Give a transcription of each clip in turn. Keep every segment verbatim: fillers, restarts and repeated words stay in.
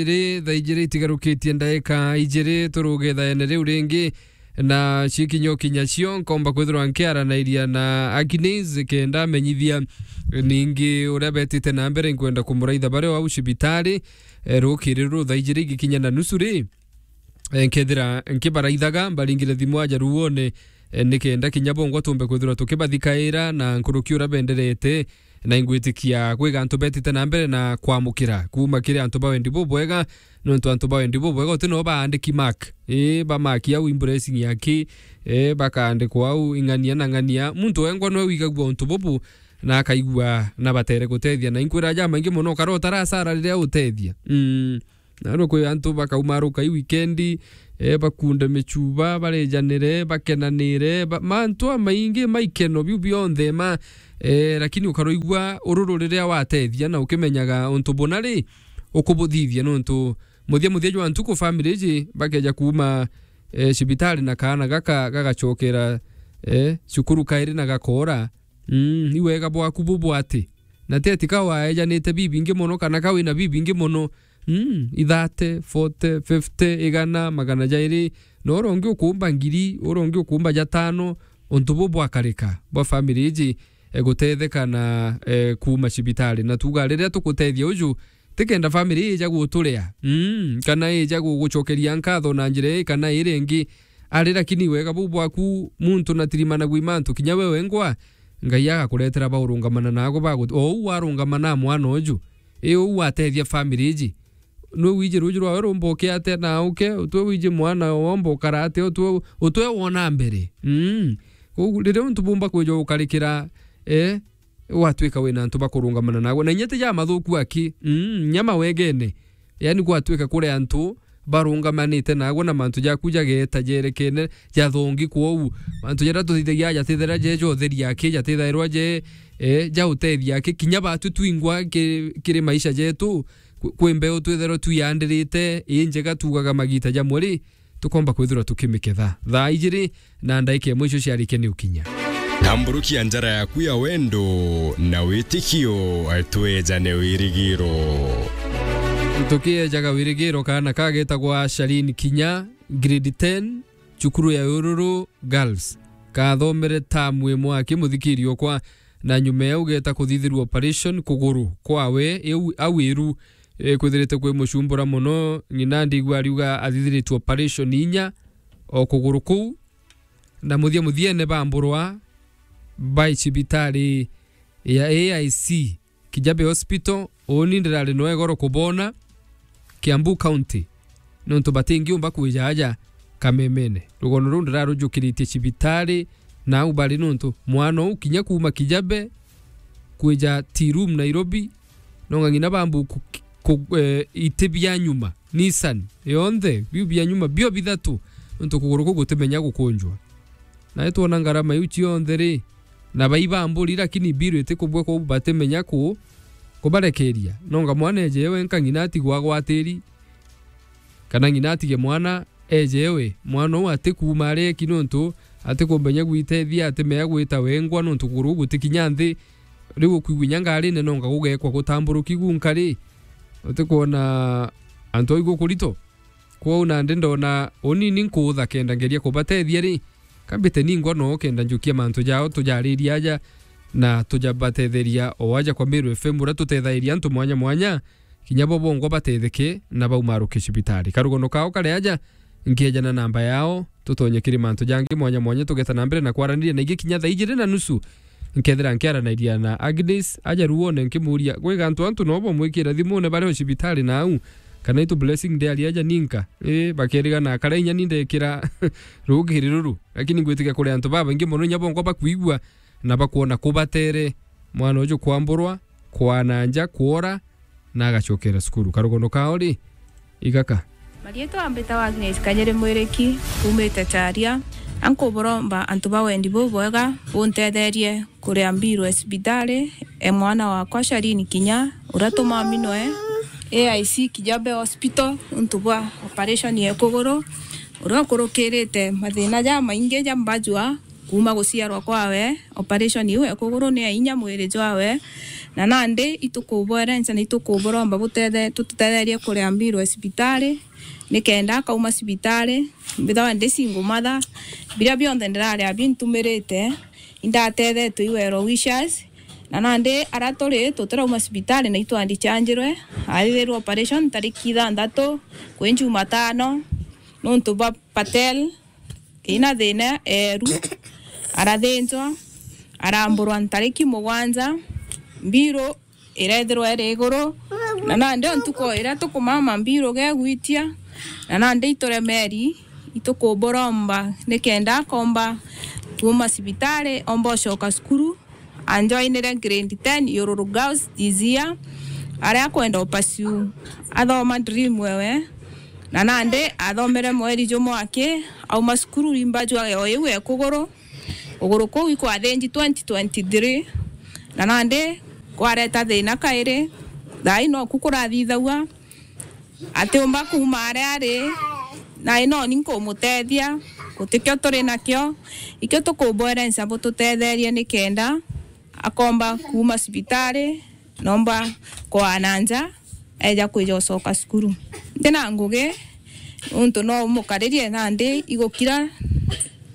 ijiri, thaa ijiri itigarukitie ndaika ijiri, turuge thaene riu ringi, na cikinya ukinya cio, nkomba kwithirwa nkiaranairia na Agnes kenda amenyithia ningi uria betite na mbere. Nkwenda kumuraitha bari o au cibitari, eh, rukiri ruru thaa ijiri igikinya na nusu ri, eh, nkethira nkibaraithaga, mbaringire thimu aja ruone, eh, nikenda kinya bongwa tumbe kwithirwa tukibathikaira na nkuruki uria benderete, na ingwitikia kwiga antu betite na mbere na kwamukira kuuma kiri antu ba wendi bubwega, nontu antu ba wendi bubwega uti no baandiki mark, ii, ba mark au impressing yaki, ii, bakaandikwa au ing'ania na ng'ania. Muntu wengwa nwe wigagua untu bubu na akaigua na batere gutethia. Na inkwira jamaingi mono, ukara utarasara riria utethia. Mm. Na rwo kwi antu bakaumaruka i weekend, eh, bakunde michuba, barejanire, bakenanire, ba-, mantu amaingi maikeno biu bionthe ma, eh, lakini ukaroigua ururu riria watethia na ukimenyaga untu buna ri, ukubuthithia nontu muthia muthia jwa ntuku family iji bakeja kuuma, eh, cibitari na kaana gaka gagacokera, eh, cukuru kairi na gakoora. Mm, i wega bwaku bubwati. Na ti ati ka waejanite bibingi mono, kana ka wina bibingi mono. Mm, i thirty, forty, fifty, igana, magana jairi. Na uria ungi ukuumba ngiri, uria ungi ukuumba jatano, untu bu bwakarika bwa family iji, e, gutetheka na, e, kuuma cibitari. Na tuuga riria tugutethia uju, ti kenda family ija guturia, mm, kana ija gugucokeria nkatho na njira ii kana iria ingi, ari, lakini wega buu bwaku muntu na tirimanagua i mantu, kinya we wengwa, Ngai agakuretera baurungamana naagwe bagu-, o uu warungama na mwana uju, i uu watethia family iji. Nwe wiji ruuji rwawe rumba ukiate na uke, utwe wiji mwana womba ukara atia, utwe, utwe wona mbere. Mm. Kou riria untu bumba kwija ukarikira, eh, gwatwika wina antu bakurungamana naagwe. Na inya ti ja mathuku aki, mm, inya mawegene. Yani gwatwika kuri antu barungamanite naagwe na mantu jaku jageeta jerekene jathongi kwou. Mantu jaria tuthithagia jatithaira je ja utheri aki, jatithairwa je, eh, ja utethia aki. Kinya batu twingwa ki-, kiri maisha jetu, kwi, kwi mbeu twithairwa twiandirite, i njega tuugaga magiita jamwe ri, tukomba kwithirwa tukimiketha. Thaa ijiri na ndaika imwe icio ciarikia ni ukinya. Tamburukia njara yaku ya wendo na witikio, twejane wirigiro. Tukiejaga wirigiro, kaana kagetagwa Shalin Kinya, grade ten, cukuru ya Ururu Girls. Kathomere tamu imwe aki, muthikiri okwa, na nyuma ya ugeta kuthithirwa operation kuguru kwawe, iu, au iru, e, kwithirite kwi mucumbura mono. Ng'ina ndigua ariuga athithiritwe operation inya o kuguru kuu, na muthia muthiene bamburwa bai cibitari ya A I C Kijabe Hospital. Uni ndirari noe goro kubona Kiambu County, nontu batingiumba kwija aja kamemene. Rugono ruu ndirarujukiritie cibitari, na au bari nontu mwana uu kinya kuuma Kijabe kwija Tea Room Nairobi, nonga ng'ina bambu ku-, ku-, eh, iti bia nyuma, Nissan, yonthe, biu bia nyuma, bio bithatu, nontu kuguru kuu gutimenya gukunjwa. Na itwona ngarama iu cionthe ri, na baibamburi, lakini biru itikubua kwou batimenya ku-, kubarekeria. Nonga mwana eje wenka ng'ina atigwa agwatiri, kana ng'ina atige mwana eje we. Mwana uu atikuuma areki nontu atikumenya gwitethia, atimenya gwita wengwa nontu kuguru gutikinya nthi. Riu ukwigua inya ngarine nonga gugekwa gutamburuki gunka ri, utikwona antu au igukurito? Kwou nandi ndona unini nkuutha kenda ngeria kubatethia ri, kambite ningwa noo kenda njukia mantu jao tujaririe aja na tujabatetheria o aja kwa Meru F M, uria tutethairia antu mwanya mwanya, kinya bo bongwa batetheke na baumaruke cibitari. Karugono kao kari aja, nkiejana namba yao, tutonye kiri mantu jangi mwanya mwanya, tugeta na mbere na kwaraniria. Na ingi kinya thaa ijiri na nusu, nkethira nkiaranairia na Agnes aja ruone, nkimuria, gwi gantu antu no bamwikira thimune bari o cibitari na au, kana itu Blessing ndiari aja ninka? Ii, bakerigana, akara inya ni ndekira rugiri ruru. Lakini ngwitikia kuri antu babaingi mono inya bongwa bakwigua na bakwona kubatere mwana uju kwamburwa, kwana nja, kwora, na agacokera cukuru. Karugono kao ri, igaka. Marietwa mbitawa Agnes Kanyere Mwiriki, umite Charia. Ankuburomba antu ba wendi bubwega buntetherie kuria mbiru ya cibitari, e mwana wakwa Shalini Kinya, uria tumami noe A I C Kijabe Hospital, untu bwa operation ya kuguru, uria ukurukirite mathina jamaingi ja mbajua, Kuuma guciarwa kwawe, operation iu ya kuguru ni ya inya mwiri jwawe, na nandi itukubwerenca na itukuburomba butethe-, tututetherie kuria mbiru ya cibitari, nikenda akauma cibitari, mbithagwa ndi single mother, biria bionthe ndiraria bintumirite, indatethetwe i well wishers, na nandi aria turi tutirauma cibitari na itwandichanjirwe, athithirwe operation tariki ithanthatu kwi Jumatano, nuntu bwa Patel, ina thina eeru, arathinjwa, aramburwa ntariki mugwanja, mbiru irethirwa iri iguru, na nandi o ntuku iria tukumama mbiru gegwitia, na nandi ituremeri, itukuburomba nikenda akomba kuuma cibitari, omba ucoka cukuru, anjoinire grade ten Yururu Girls this year, aria akwenda upursue athoma dream ewe, na nandi athomere mweri jumwe aki, auma cukuru rimba jwa o iu e kuguru, kuguru kuu ikwathinji twenty twenty-three, na nandi kwareta thina kairi, thaai noku kurathithagua, atiumba kuuma aria ari, na inoni nkumutethia, gutikio turi nakio, ikio tukubwerenca bututetherie nikenda akomba kuuma cibitari, nomba kwaa na nja, eja kwija ucoka cukuru. Ndina ngugi, nuntu no umukaririe nandi igukira,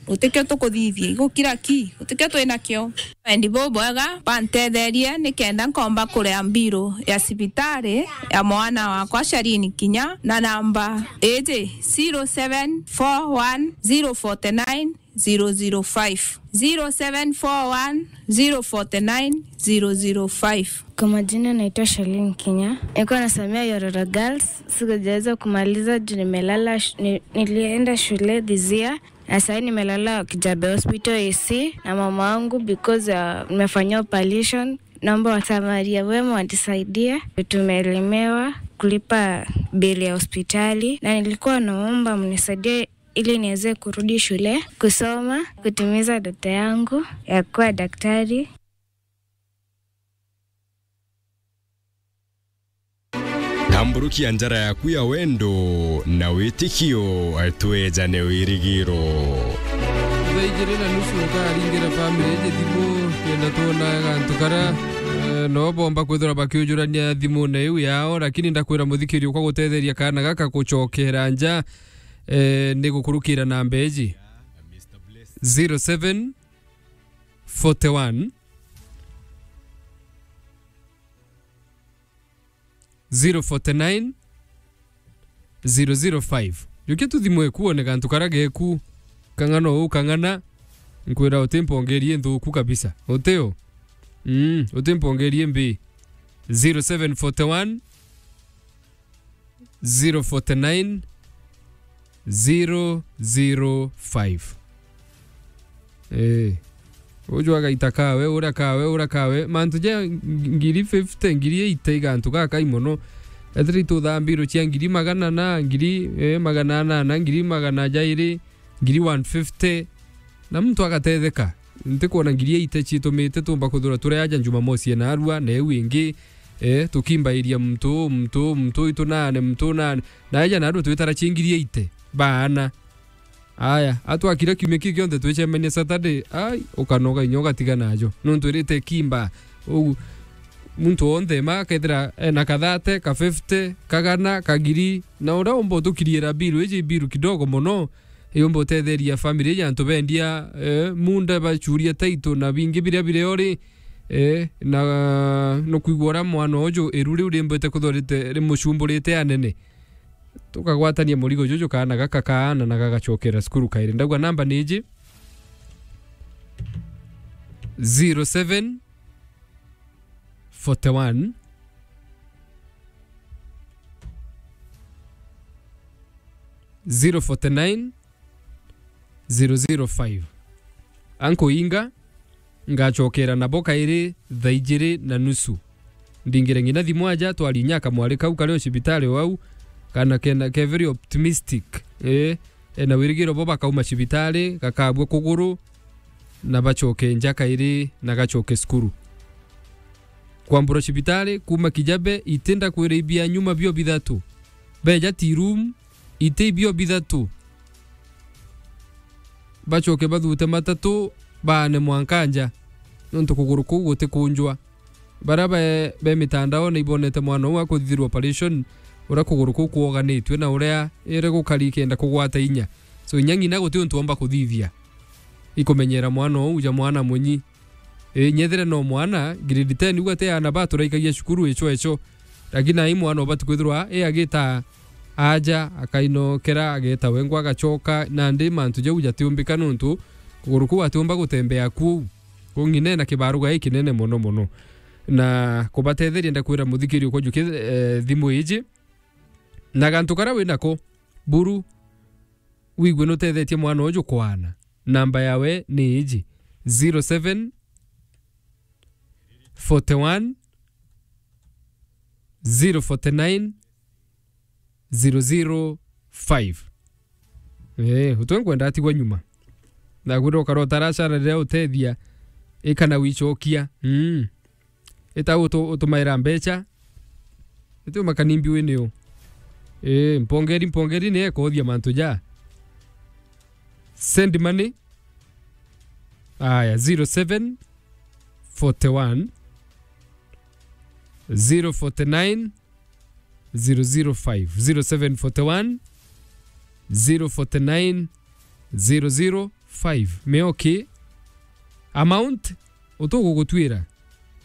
utikio tukuthithia, igukira ki, utikio twinakio. Wendi bubwega, bantetherie nikenda nkomba kuria mbiru ya cibitari ya mwana wakwa Sharini Kinya na namba iji zero seven four one zero forty nine zero zero five, zero seven four one zero forty nine zero zero five. Kwa majina naitwa Shalin Kinya. Nilikuwa nasomea Yororo Girls. Sikujaweza kumaliza juu nimelala sh-, ni-, nilienda shule this year. Na sasa nimelala Kijabe Hospital A C na mama wangu because, uh, nimefanyia operation. Naomba wasamaria wema wanisaidie. Tumelemewa kulipa bili ya hospitali na nilikuwa naomba mnisaidie ili niweze kurudi shule, kusoma, kutimiza ndoto yangu ya kuwa daktari. Tamburukia njara yaku ya wendo na witikio, twejane wirigiro. Thaa ijiri na nusu ukaringira family iji thimu, kenda twona gantu karia, eh, no bomba kwithira bakiujurania thimune iu yao, lakini ndakwira muthikiri ukwa gutetheria kana gaka gucokera nja, eh, ni gukurukira namba iji. Zero seven forty one, zero forty nine, zero zero five. Jukia tu thimu eku one gantu karia geku, kang'ana uu kang'ana, nkwira utimpongerie nthuku kabisa. Utio? Mm, utimpongerie mbi. Zero seven forty one, zero forty nine, zero zero five. Eh. Uju agaita kawe, ura kawe, ura kawe. Mantu ja ng-, ngiri fifty, ngiri eighty igantu gakai mono. Ethira ituthambirwe cia ngiri magana na, ngiri, eh, magana anana, ngiri magana jairi, ngiri one fifty. Na muntu agatetheka. Ntikwona ngiri eighty citumite tumba kuthura turi aja Jumamosi ena arua, na iu ingi, eh, tukimbairia muntu, muntu, muntu itu nane, muntu nane. Na aja na arua twitara ci ngiri eighty. Baana. Aya, atwakira kiumia kiu kionthe twicemania Saturday, ai, ukanoga inya ugatiga najo. Nuntu irite kimba. Ugu, muntu wonthe ma akethira ena kathate, ka fifty, kagana, kagiri, na uria umba utukiriira biru, iji biru kidogo mono, yumba utetheria family ya antu bendia, eh, munda bachuria taito na bingi biria biri ori, eh, na nukwigua uria mwana uju iru riu rimbite kuthorite rimucumburite anene. Tukagwatania murigo juju kaana gaka kaana na gagacokera cukuru kairi. Ndauga namba ni iji, zero seven forty one, zero forty nine, zero zero five. Ankuinga, ngacokera nabo kairi thaa ijiri na nusu. Ndingire ngina thimu aja, twari inya kamwari kau kari o cibitari o au, kana kena, ke very optimistic. Ii, ena wirigiro bo bakauma cibitari, gakabua kuguru, na bacoke nja kairi, na gacoke cukuru. Kwamburwa cibitari, kuma Kijabe, iti ndakwira ibia nyuma bio bithatu. Beja tea room, iti ibio bithatu. Bacoke bathute matatu, baane mwanka nja, nontu kuguru kuu gutikunjwa. Baria be, be mitandaone ibonete mwana uu akuthithirwa operation, uria kuguru kuu kwoganitue na uria iri gukari ikenda kugwata inya. So, inya ng'ina guti untu omba kuthithia. Ikumenyera mwana uu ja mwana munyi. Ii, nyethire no mwana, grade ten, uu ati aana ba turaikagia cukuru icho icho. Lakini ai mwana ubati kwithirwa, ii, agita aja, akainokera, ageta wengwa, agachoka, nandi mantu jau jatiumbika nontu kuguru kuu atiumba gutembea kuu. Kung'ina ena kibaruga gikinene mono mono. Na kubatetheria, ndakwira muthikiri ukwa juki, eh, thimu iji. Na gantu karia winako, buru, wigue nutethetie mwana uju kwana. Namba yawe ni iji, zero seven forty one, zero forty nine, zero zero five. Eh, utwe nkwenda atigwa nyuma. Na gwira ukara utaracara riria utethia, ikana wichokia. Mm. Ita utu-, utumaira mbecha. Iti umakani mbiu ni u. Eh, mpongeri, mpongeri ni ekothia mantu ja. Send money. Aya, zero seven forty one, zero forty nine, zero zero five, zero seven forty one, zero forty nine, zero zero five. Meoki amount utugugutwira.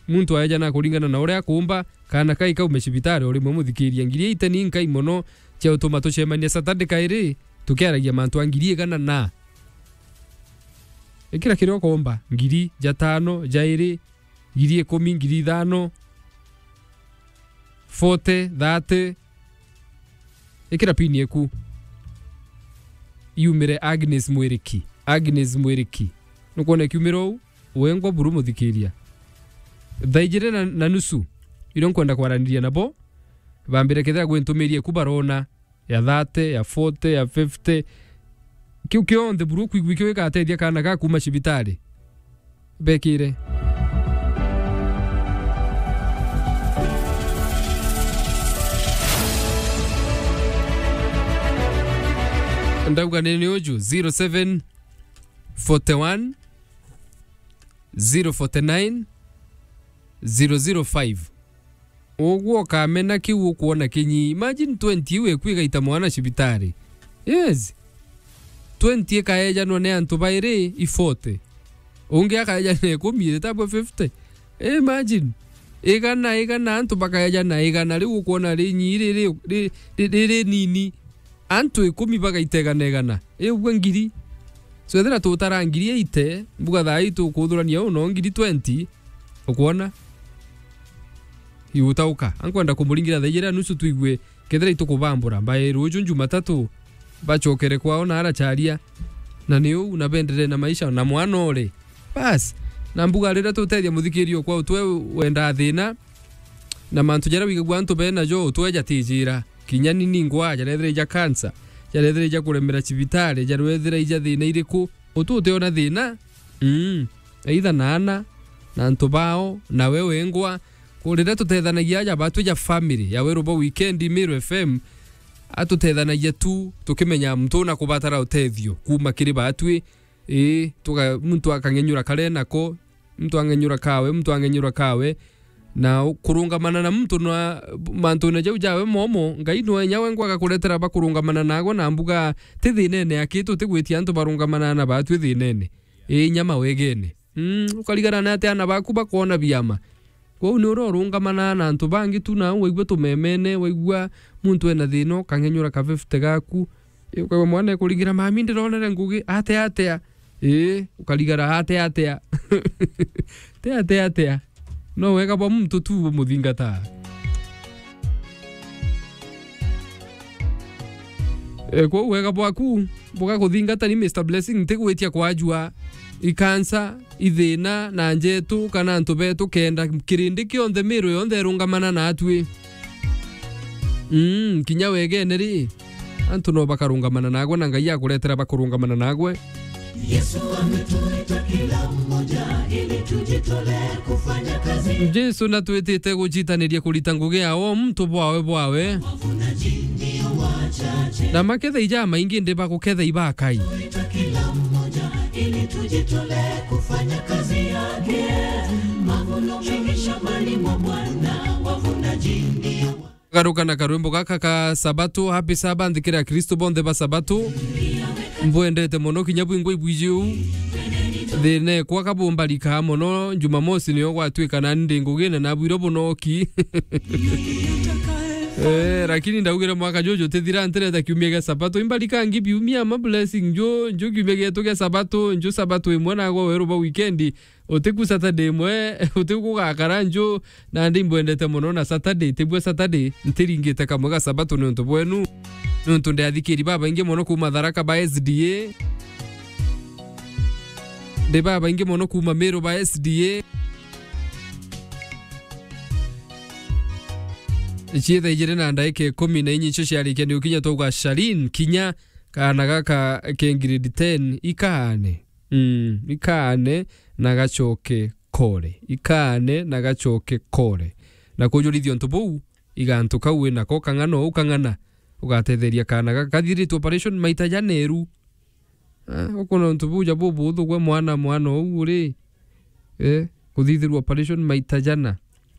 Muntu aeja na kuringana na uria akumba, kana kai kaume cibitari o rimwe muthikiria. Ngiri eight ni nkai mono cia utuma tucemania Saturday kairi, tukiaragia mantu a ngiri igana na. Ikira kiria ukomba, ngiri, ja tano, ja iri, ngiri ikumi, ngiri ithano, forty, thirty. Ikira pin eku. Yumire Agnes Mwiriki. Agnes Mwiriki. Nukwona kiumira uu? Wengwa buru muthikiria. Thaa ijiri na, na nusu, irio nkwenda kwaraniria nabo, bambire kethira gwintumirie ku barona ya thirty, ya forty, ya fifty. Kiu kionthe buru kwigua kio gikatethia kana ga kuma cibitari. Bekire. Ndauga ni, ni uju, zero seven forty one, zero forty nine, zero zero five. Uguo ukamena kiu ukwona kinyi. Imagine twenty iu eku igaita mwana cibitari. Yes. Twenty ikaejanwa ni antu bairi i forty. Ungi akaejana ikumi, itabwe fifty. Imagine. Igana, igana, antu bakaejana igana, riu ukwona rinyi riri, ri-, ri-, riri nini. Antu ikumi bagaita igana igana. Iu ugwe ngiri. So, ethira tutara ngiri eighty, mbuga thaa ii tukuthurania uu no ngiri twenty, ukwona? Igutauka. Ankwenda kumuringira thaa ijiri na nusu twigue kethira itukubambura. Mbae ruju Jumatatu, bachokere kwao na aracharia. Na ni uu, na bendere na maisha, na mwana ore. Bas. Na mbuga riria tutethia muthikiri okwa utwe wenda thina, na mantu jaria wigagua antu bena jo, utwe jatijira. Kinya ni ningwa, jarethira ija cancer, jarethira ija kuremera cibitari, jarethira ija thina iriku, utu utiona thina? Mm. Either na ana, na antu bao, na we wengwa. Ku riria tutethanagia aja batu ja family ya Weru bo weekend, Meru F M, atutethanagia tu, tukimenya muntu na kubatara utethio kuma kiri batwi. Ii, tuga-, muntu akang'enyura karia nako, muntu ang'enyura kawe, muntu ang'enyura kawe. Na u-, kurungamana na muntu na mantune jau jawe momo, Ngai nwe inya we ngwaga kuretera bakurungamana nagwe na mbuga ti thinene aki, tutigwitia antu barungamana na batwi thinene. Ii, inya mawegene. Mm, ukarigana na ati ana baku bakwona biama. Kwou ni uria urungamana na antu bangi tu, na waigua tumemene, waigua muntu ena thina, ukang'enyura ka fifty gaku. Ii, ukaigua mwana ekuringira, "Mami, ndironere ngugi, atia, atia?" Ii, ukarigara, "Atia, atia?" Ti atia, atia. No wega bwa muntu tu bumuthingata. E, kwou wega bwaku bugakuthingata ni Mister Blessing, ntigwitia kwajua ikansa, ithina, na njetu, kana antu betu kenda kirindi kionthe, miru yonthe irungamana natwi. Mm, kinya wegene ri, antu no bakarungamana nagwe, na Ngai akuretera bakurungamana nagwe. Yesu ametuita kila mmoja ili tujitolee kufanya kazi. Jesu natwitite gucitaniria kurita ngugi ya o muntu bwawe bwawe. Wavunaji ndio wachache. Na maketha ijamaingi ndi baguketha ibakai. Tuita kila mmoja ili tujitolee Tole kufanya kazi yake. Mavuno mengi shambani mwa Bwana, wavunaji ndio. Garuka na karwimbo gaka ka Sabato, Happy Sabbath, kiri Akristo bonthe ba Sabato. Mbwendete mono, kinya bwingwa ibwiji uu. Thina ekwa kabumbarikaa mono, Jumamosi niyo gwatuika nani ndi ngugine na bwiro bunoki. Eh, lakini ndaugire mwaka juju tithira ntireta kiumia gia Sabato. Imbarikangi biumia ma blessing, nju, nju kiumia gietu gia Sabato, nju Sabato imwe nagwa weru ba weekend. Utiku Saturday imwe, utiku gugakara nju, nandi imbwendete mono na Saturday, tibwe Saturday, ntiringite kamwe ga Sabato niuntu bwenu. Niuntu ndi athikiri babaingi mono kuuma Tharaka ba S D A. Ndi babaingi mono kuuma Meru ba S D A. Ciitha ijiri na ndaika ikumi na inya icio ciarikia ni ukinya twauga, Shalin, kinya kaana gaka ke grade ten, ikaane. Mm, ikaane na gacoke kore. Ikaane na gacoke kore. Na kujurithia untu buu, igantu kau wi nako, kang'ana uu kang'ana, ugatetheria kaana gaka kathiritwe operation maita jana eru. Ah, ukona untu buu ja bubuthu gwe mwana, mwana uu uri, eh, kuthithirwa operation maita jana.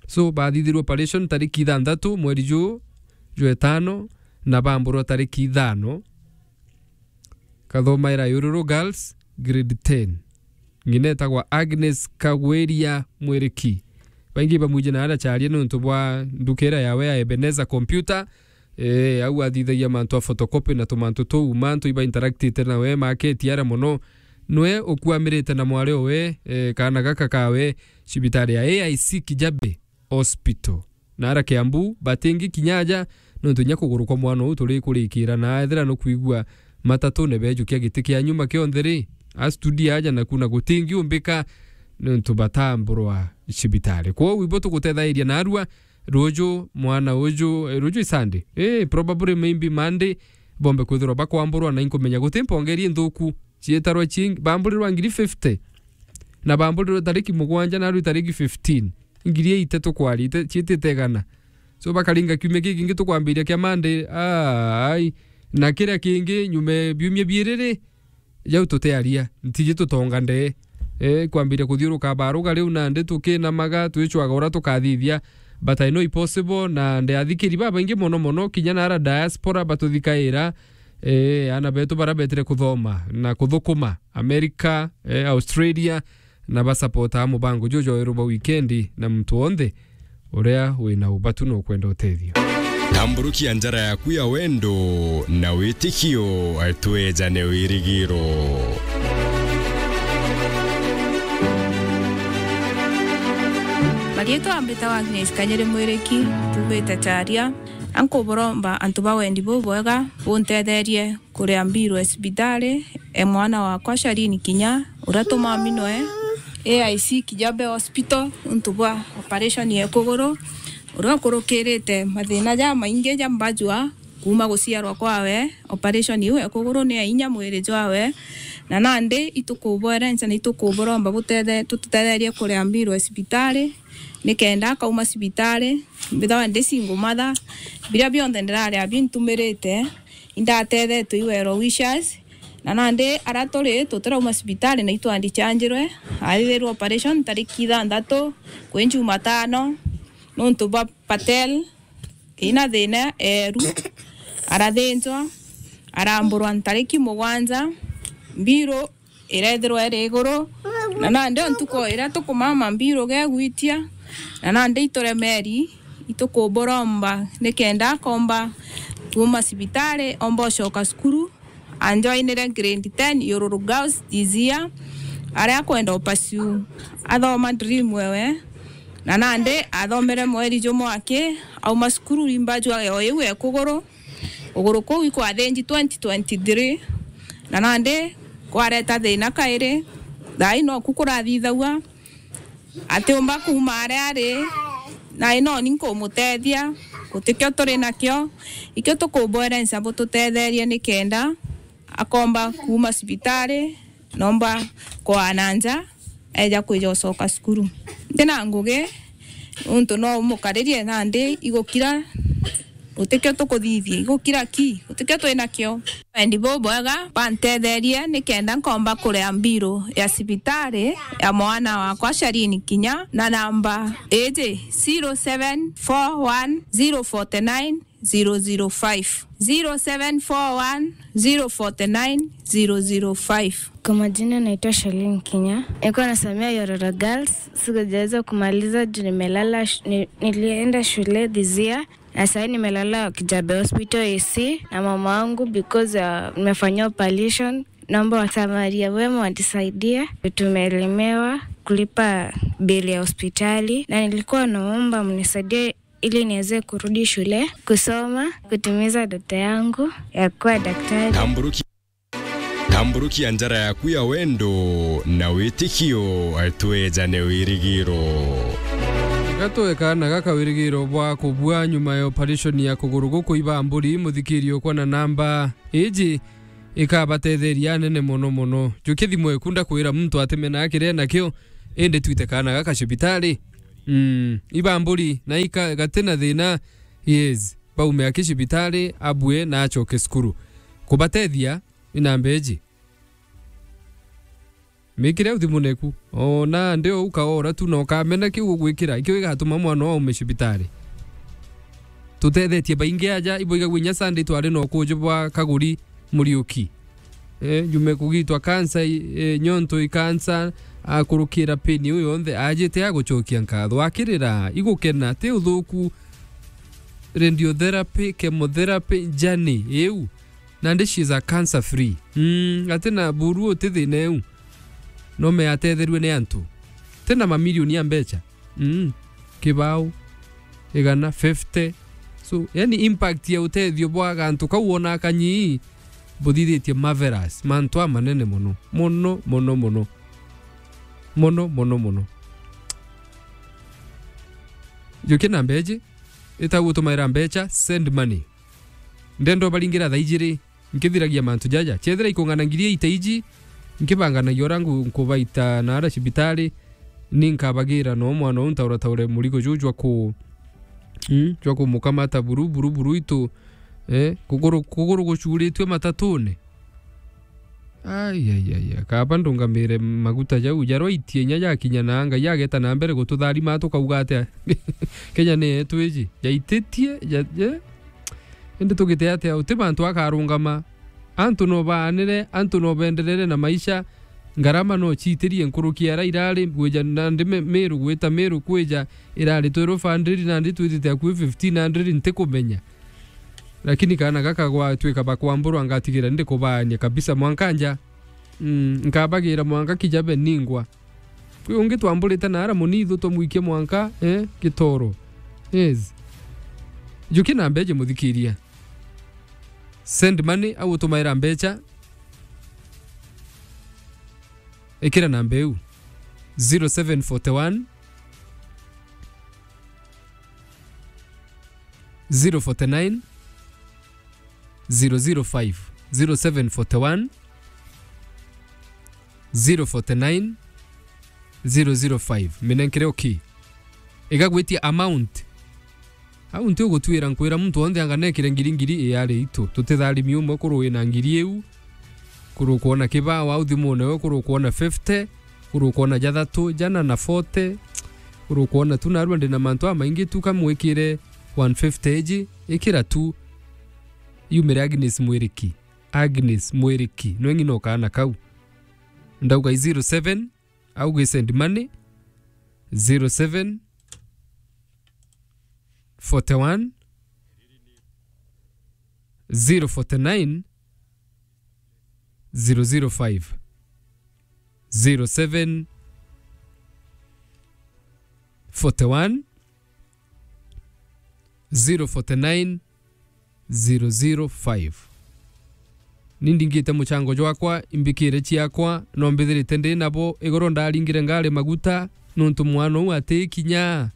So, bathithirwa operation tariki ithanthatu mweri juu jwa itano, na bamburwa tariki ithano. Kathomaira Yururu Girls, grade ten. Ng'ina etagwa Agnes Kagwiria Mwiriki. Baingi bamwiji na aracaria niuntu bwa nduka iria yawe ya Ebenezer Computer. Eh, au athithagia mantu a photocopy na tumantu tuu, mantu iba interactite nawe maketi aria mono. Nwe ukuamirite na mwari owe, eh, kaana gaka kawe cibitari ya A I C Kijabe Hospital. Na ara Kiambu, batingi kinya aja, nontu inya kuguru kwa mwana uu turi kurikira, na ethira nukwigua matatune bejukia giti kia nyuma kionthe ri, a studio aja naku na gutingi umbika, nontu batamburwa cibitari. Kwou ibo tugutethairia narua, ruju mwana uju, eh, ruju i Sunday. Eh, probably maybe Monday, bombe kwithirwa bakwamburwa na inkumenya guti mpongeri nthuku, cietarwa cing-, bamburirwa ngiri fifty. Na bamburirwe tariki mugwanja na riu tariki fifteen. Ngiri eight tukwarite, ciitite igana. So bakaringa kiumia giki kingi tukwambiria kia Monday, ai. Na kiria kingi nyuma biumia biiri ri, jau tutiaria, ntiji tutonga ndee. Eh, kwambiria kuthiuruka baruga riu nandi tukinamaga, twicwaga uria tukathithia. But I know it's possible, na ndi athikiri babaingi mono mono, kinya na ara diaspora batuthikaira, eh, ana betu bara betire kuthoma na kuthukuma America, eh, Australia, na basapotaa mubango juju jwa weru bwa wikendi, na muntu wonthe uria wina ubatu na ukwenda utethio. Tamburukia njara yaku ya wendo na witikio, twejane wirigiro. Marietwa mbitawa Agnes Kanyere Mwiriki, mbumite Charia. Ankuburomba antu ba wendi bubwega buntetherie kuria mbiru ya cibitari e mwana wakwa Sharini Kinya, uria tumaminwe A I C Kijabe Hospital untu bwa operation ya kuguru, uria ukurukirite mathina jamaingi ja mbajua kuuma guciarwa kwawe. Operation iu ya kuguru ni ya inya mwiri jwawe, na nandi itukubwerenca na itukuburomba butethe-, tututetherie kuria mbiru ya cibitari, nikenda akauma cibitari, mbithagwa ndi single mother, biria bionthe ndiraria bintumirite, indatethetwe i well wishers, na nandi aria turi tutirauma cibitari na itwandichanjirwe, athithirwe operation tariki ithanthatu kwi Jumatano, nontu bwa Patel ina thina eru, arathinjwa, aramburwa ntariki mugwanja, mbiru irethirwa iri iguru, na nandi o ntuku iria tukumama mbiru gegwitia, na nandi ituremeri, itukuburomba nikenda akomba kuuma cibitari, omba ucoka cukuru, anjoinire grade ten Yururu Girls this year, aria akwenda upursue athoma dream ewe, na nandi athomere mweri jumwe aki, auma cukuru imba jwa o iu e kuguru, kuguru kuu ikwathinji twenty twenty-three, na nandi kwareta thina kairi, thaai noku kurathithagua, atiumba kuuma aria ari, na ino ni nkumutethia, gutikio turi nakio, ikio tukubwerenca bututetherie nikenda akomba kuuma cibitari, nomba kwaa na nja, eja kwija ucoka cukuru. Ntina ngugi, nontu no umukaririe nandi igukira, Gutikio tukuthithia, igukira ki? Gutikio twinakio. Wendi bubwega, bantetherie nikenda nkomba kuria mbiru ya cibitari ya mwana wakwa Shalini Kinya na namba iji, zero seven four one zero forty nine zero zero five, zero seven four one zero forty nine zero zero five. Kwa majina naitwa Shalin Kinya. Nilikuwa nasomea Yororo Girls. Sikujaweza kumaliza juu nimelala sh-, ni-, nilienda shule this year. Na sasa nimelala Kijabe Hospital A C na mama wangu because, uh, nimefanyiwa operation. Naomba wasamaria wema wanisaidie. Tumelemewa kulipa bili ya hospitali. Na nilikuwa naomba mnisaidie ili niweze kurudi shule, kusoma, kutimiza ndoto yangu ya kuwa daktari. Tamburuki-, tamburukia njara yaku ya wendo na witikio, twejane wirigiro. Gatwe kaana gaka wirigiro bwa kubua nyuma ya operation ya kuguru gukuiba mburi, muthikirio kwa na namba iji ikabatetheria anene mono mono. Jukia thimu eku ndakwira muntu atimena akire nakio, indi twite kaana gaka cibitari. Mm, iba mburi na ika-, gati na thina, yes, baume aki cibitari, abue na acoke cukuru. Kubatethia, inamba iji. Mikire au thimu neku. Ona ndi o ukaora tu na ukamena kiu ugwikira, ikio igatuma mwana wao aume cibitari. Tutethetie baingi aja, ibo igagua inya Sunday twari na ukuju bwa Kaguri Muriuki. Eh, jume kugitwa cancer, eh, nyonto i cancer, akurukira pain iu yonthe, ajite agucokia nkatho. Akirira, igukena, ti uthuku, radiotherapy, chemotherapy, journey iu. Nandi she is a cancer free. Mm, ati na buru uti thina iu. No me atetherue ni antu. Ti na mamilioni ya mbecha. Mm, kibao, igana, fifty. So, yani impact ya utethio bwa gantu kau wona kanyi, buthithitie marvelous. Mantu amanene mono. Mono, mono, mono. Mono, mono, mono. Jukia namba iji, ita gutumaira mbecha, send money. Ndenda ubaringira thaa ijiri, nkithiragia mantu jaja. Chethira ikung'ana ngiri eight iji, nkibanganagia uria nku-, nkubaita naara cibitari, ni nkabagira no mwana uu ntaura taure murigo juu jwa ku-, mm, jwa kumukamata buru, buru, buru itu, eh, kuguru, kuguru gucuritue matatune. Ai, ai, ai, ai. Kaba ndungamire maguta jau, jarwaitie inya jakinya na Ngai ageta na mbere gututharima, tukauga atia? Kenya ni yetu iji. Jaititie, ja-, je? Indi tugite atia? Uti bantu akarungama. Antu no baanire, antu no benderere na maisha. Ngarama no ciitirie nkuruki ya aria irari, gwija nandi me-, Meru, gwita Meru kwija, irari twelve hundred, nandi twitite akui fifteen hundred, ntikumenya. Lakini kaana gaka gwatwika bakwamburwa, ngatigira ndikubaania kabisa mwanka nja. Mm, nkabagira mwanka Kijabe ningwa. Kwi ungi twamburite naara munithu twamwikia mwanka, eh, Gitoro. Yes. Jukia namba iji muthikiria. Send money au utumaira mbecha. Ikira namba iu. Zero seven forty one, zero forty nine, zero zero five, zero seven forty one, zero forty nine, zero zero five. Minenkere okay. Igagwitia amount. Au nti ugutwira nkwira muntu wonthe anga nekire ngiri ngiri, iyari itu. Tutitharimi umwe kuru wina ngiri iu. Kuru kwona kibao au thimune we, kuru kwona fifty, kuru kwona jathatu, jana na forty, kuru kwona tu narua ndina mantu amaingi tu, kamwikire one fifty iji, ikira tu. Yumire Agnes Mwiriki. Agnes Mwiriki. Nwe ng'ina o kaana kau. Ndauga i zero seven, au gi send money, zero seven forty one, zero forty nine, zero zero five, zero seven forty one, zero forty nine, zero zero five. Ni ndingite muchango jwakwa, imbikire ciakwa, no mbithirite ndi nabo. Igoro ndaringire ngari maguta, nontu mwana uu ati kinya.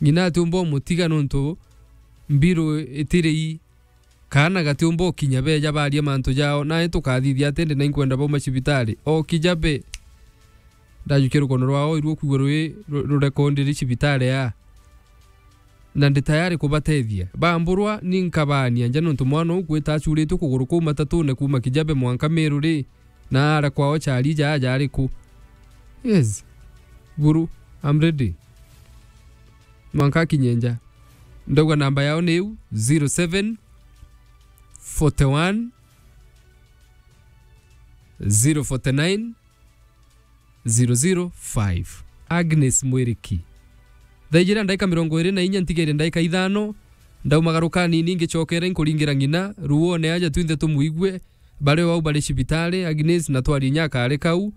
Ng'ina atiumba umutiga nontu mbiru itiri i. Kaana gatiumba ukinya beja baria mantu jao, nae tukathithia ati ndi na inkwenda bauma cibitari. O Kijabe. Ndajukia rukono rwao, iruo kwigua rwi ru-, rurekondiri cibitari aa. na ndi tayari kubatethia. Bamburwa ni nkabaania nja nontu mwana uu kwita acuritue kuguru kuu matatune kuuma Kijabe mwanka Meru ri, na ara kwao chari jaa jari ku? Yes. Buru, I'm ready. Mwanka akinye nja. Ndauga namba yao ni iu, zero seven forty one, zero forty nine, zero zero five. Agnes Mwiriki. Thaa ijiri na ndaika mirongo iri na inya, ntigaire ndaika ithano, ndaumagaruka nini ngicokere nkuringira ng'ina, ruone aja twinthe tumwigue, bari o au bari cibitari, Agnes na twarie inya akari kau,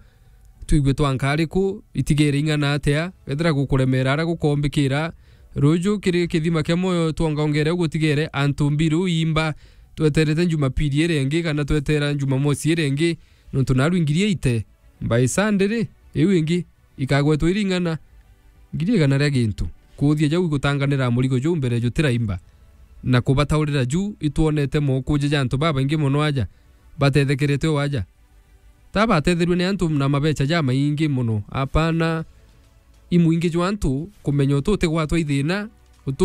twigue twanka ari ku, itigere ing'ana atia, kethira gukuremera ara gukombikira, ruju kiri kithima kia moyo twongongere u gutigere antu mbiri u imba, tweterete Jumapili iri ingi kana twetera Jumamosi iri ingi, nontu naru ngiri eite, by Sunday ri, iu ingi, ikagwetwa iri ing'ana, ngiri igana ria gintu. Kuuthia jau igutanganira murigo juu mbere jutiraimba, na kubataurira juu itwonete mokuja ja antu babaingi mono aja, batethekerete o aja. Ta batetherue ni antu na mabecha jamaingi mono, apana, imwingi jwa antu kumenya utu utigwatwa ithina,